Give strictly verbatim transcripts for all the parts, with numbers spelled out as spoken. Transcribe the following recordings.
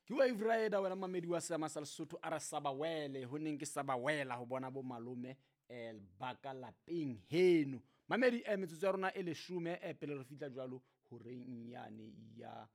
Ke Wave Rider wena mamedi wa seama sa Lesotho a re sa ba wele ho neng ke sa ba wela ho bona bo malome eh ba ka lapeng heno. Mamedi eh metsotso ya rona e leshome eh pele re fihla jwalo horeng yane ya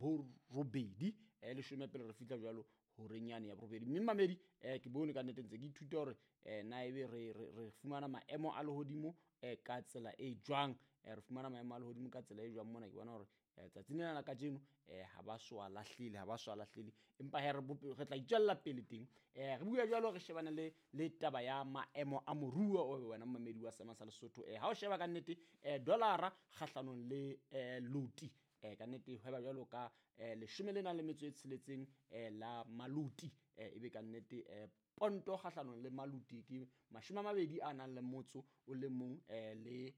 borobedi, eh leshome pele re fihla jwalo horeng yane ya borobedi. Mme mamedi eh ke bone ka nnete ntse ke ithuta hore eh na ebe re re re fumana maemo a lehodimo eh ka tsela e jwang, eh re fumana maemo a lehodimo ka tsela e jwang mona. Ke bona hore eh tsatsing lena la kajeno eh ha ba so a lahlile, ha ba so a lahlile, empa he re bope re tla itswella pele teng. Eh re bua jwalo re shebane le le taba ya maemo a moruo o wena mamedi wa seama sa Lesotho. Eh ha o sheba ka nnete eh dollara kgahlanong le eh loti eh ka nnete hweba jwalo ka eh leshome le nang le metso e tsheletseng eh la maluti, eh ebe ka nnete eh ponto kgahlanong le maluti ke mashome a mabedi a nang le motso o le mong eh le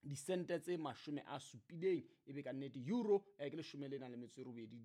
disente tse mashome a supileng, ebe ka nnete euro eh ke leshome le nang le metso e robedi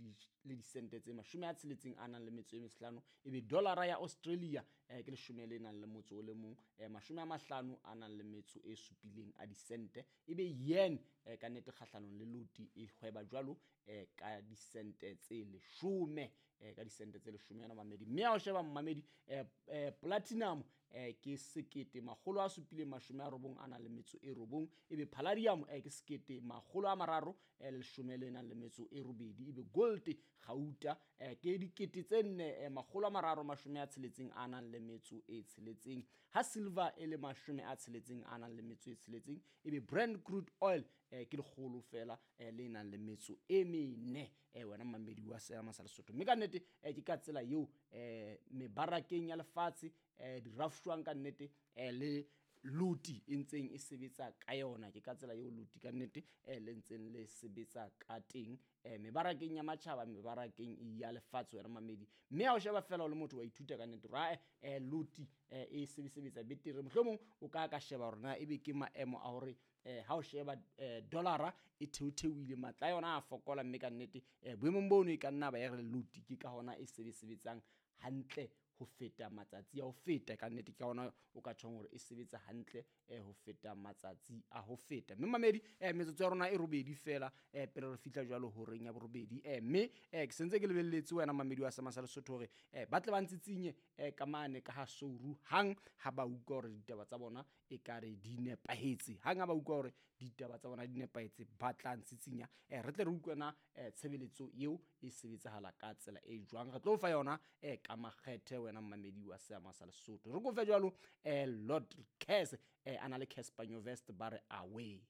le disente tse mashome a tsheletseng a nang le metso e mehlano, ebe dollara ya Australia eh ke leshome le nang le motso o le mong eh mashome a mahlano a nang le metso e supileng a disente, ebe yen eh ka nnete kgahlanong le loti e hweba jwalo eh ka disente tse leshome eh ka disente tse leshome yona mamedi. Mme ha o sheba mamedi eh eh platinum eh ke sekete makgolo a supileng mashome a robong a nang le metso e robong, ebe palladium eh ke sekete makgolo a mararo eh leshome le nang le metso e robedi, ebe gold gauta eh ke dikete tse nne eh makgolo a mararo mashome a tsheletseng a nang le metso e tsheletseng, ha silver e le mashome a tsheletseng a nang le metso e tsheletseng, ebe Brent crude oil eh ke lekgolo fela eh le nang le metso e mene eh wena mamedi wa seama sa Lesotho. Mme ka nnete eh ke ka tsela eo eh mebarakeng ya lefatshe eh di rafshwang ka nnete eh le loti e ntseng e sebetsa ka yona, ke ka tsela eo loti ka nnete eh le ntseng le sebetsa ka teng eh mebarakeng ya matjhaba, mebarakeng ya lefatshe wena mamedi. Mme ha o sheba fela o le motho wa ithuta ka nnete hore eh loti eh e sebetsa betere, mohlomong o ka ka sheba hore na ebe ke maemo a hore eh ha o sheba eh dollara e theotheoile matla a yona a fokola, mme ka nnete eh boemong bono e ka nna ba ya re loti ke ka hona e sebetsang hantle ho feta matsatsi a ho feta. Ka nnete ke hona o ka tjhong hore e sebetsa hantle eh ho feta matsatsi a ho feta. Mme mamedi eh metsotso ya rona e robedi fela eh pele re fihla jwalo horeng ya borobedi, eh mme eh ke sentse ke lebelletse wena mamedi wa seama sa Lesotho hore eh ba tle ba ntsitsinye eh ka mane ka ha souru hang ha ba utlwa hore ditaba tsa bona e ka re di nepahetse, hang ha ba utlwa hore ditaba tsa bona di nepahetse ba tla ntsitsinya eh re tle re utlwe na eh tshebeletso eo e sebetsahala ka tsela e jwang. Re tlo fa yona eh ka makgethe wena mamedi wa seama sa Lesotho. Re kofe jwalo eh Lord Cass eh ana le Cassper Nyovest ba re away.